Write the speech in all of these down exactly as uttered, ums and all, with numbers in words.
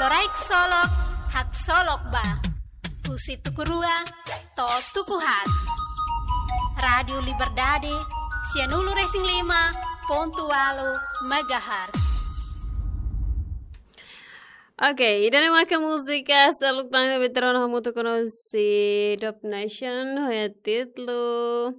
Loraik Solok, haksolok ba. Husi tuku rua to'o tuku haat. Rádiu Liberdade, sianulu-resin-lima pontu ualu megahertz. Oke, ida-ne'e maka múzika Seluk Tan ne'ebé ita rona hamutuk ho ita-nia Dubnation, ho títulu,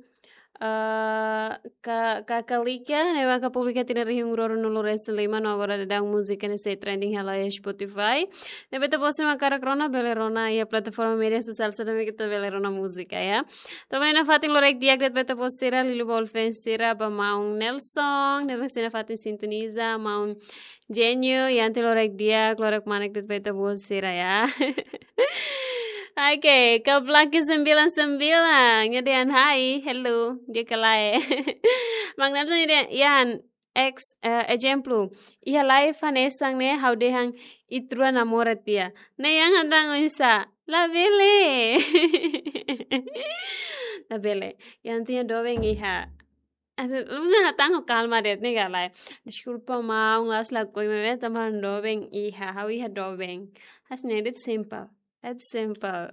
eh, Ka-, Kakalika, ne'ebé maka publika tinan rihun rua ruanulu-resin-lima, no agora daudaun múzika ne'e sei trending hela iha Spotify. Ne'ebé ita-boot sira mak hakarak rona, bele rona iha plataforma média sosiál sira ne'ebé ita bele rona múzika, ya. Tanba ne'e nafatin loraik di'ak de'it ba ita-boot sira, liuliu ba fans sira, ba maun Nelson, ne'ebé sei nafatin sintoniza, maun Genio, iha ne'e loraik di'ak, loraik manek de'it ba ita-boot sira, ya. Oke, Kablaki sembilan sembilan, nia dehan hai, hello, di'ak ka lae. Maun Nelson nia dehan, Ian, ex, eh, ezemplu, iha live hanesan ne'e ha'u dehan ita rua namora tiha. Ne'e Ian hatán oinsá, labele. Labele, Ian nia doben iha. Asa, lubus na hatán ho kalma de'it ne'e ka lae. Deskulpa maun, la'ós lakohi maibé tanba doben iha, ha'u iha doben. Hanesan ne'e de'it simples. It's simple.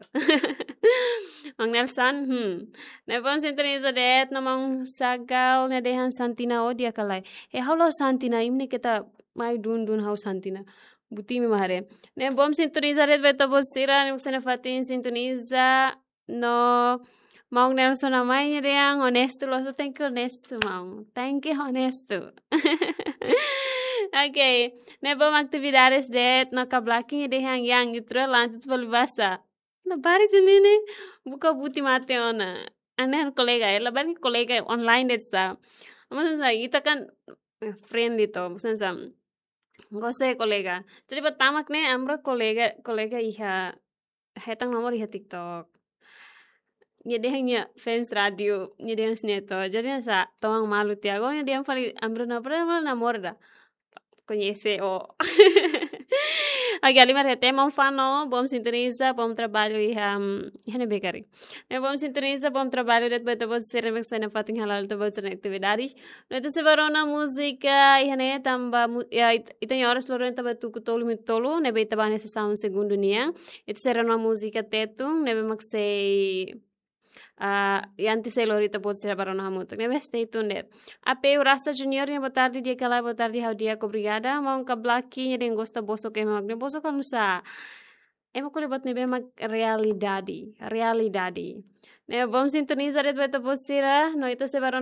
Maun Nelson, hmm. Ne'e bom sintoniza de'it, no maun Sagal, nia dehan Santina ó di'ak ka lae. He ha'u la'ós Santina, imi ne'e keta mai dun-dun ha'u Santina. Buti imi mak haree. Ne'e bom sintoniza de'it ba ita-boot sira, ne'e mak sei nafatin sintoniza, no maun Nelson nia mai nia dehan onestu, loos, thank you onestu, maun. Thank you onestu. Oke, ne'e bom atividades de'it, no Kablaki nia dehan Ian, ita rua lanjut fali basa. Labarik duni ne'e, buka buti mate ona. Ami-nia kolega, eh, labarik kolega online de'it sá. Maksudnya sá, ita kan, eh, friendly to, maksudnya sá, gosta kolega. Jadi pertama ne'e ami-rua kolega, kolega iha hetan nomor iha TikTok. Nia dehan nia fans rádiu, nia dehan hanesan ne'e to. Jadi sá, toman malu tiha. Agora nia dehan fali ami-rua na, pernah namora ida. Koñese ó. Oke, halimar iha T M Fano, bom sintoniza, bom trabalho iha, hmm, iha ne'ebé karik. Ne'e bom sintoniza, bom trabalho de'it ba ita-boot sira ne'ebé sei nafatin hala'o ita-boot sira-nia atividades. No ita sei bá rona múzika iha ne'e tanba mu-, ya, it-, ita-nia oras loron tanba tuku tolu minutu tolu, ne'ebé ita bá hanesan segundu nian. Ita sei rona múzika Tetun, ne'ebé mak sei, ah, iha ne'e sei lori ita-boot sira bá rona hamutuk. Ne'ebé stay tuned de'it. A P U Rasta Junior, nia boa tarde, di'ak ka lae, boa tarde, ha'u di'ak, obrigada. Maun Kablaki, nia dehan gosta bosok ema mak ne'e, bosok oinsá. Ema ko'alia buat ne'ebé mak realidade, realidade. Ne'e bom sintoniza de'it ba ita-boot sira, no ita sei bá rona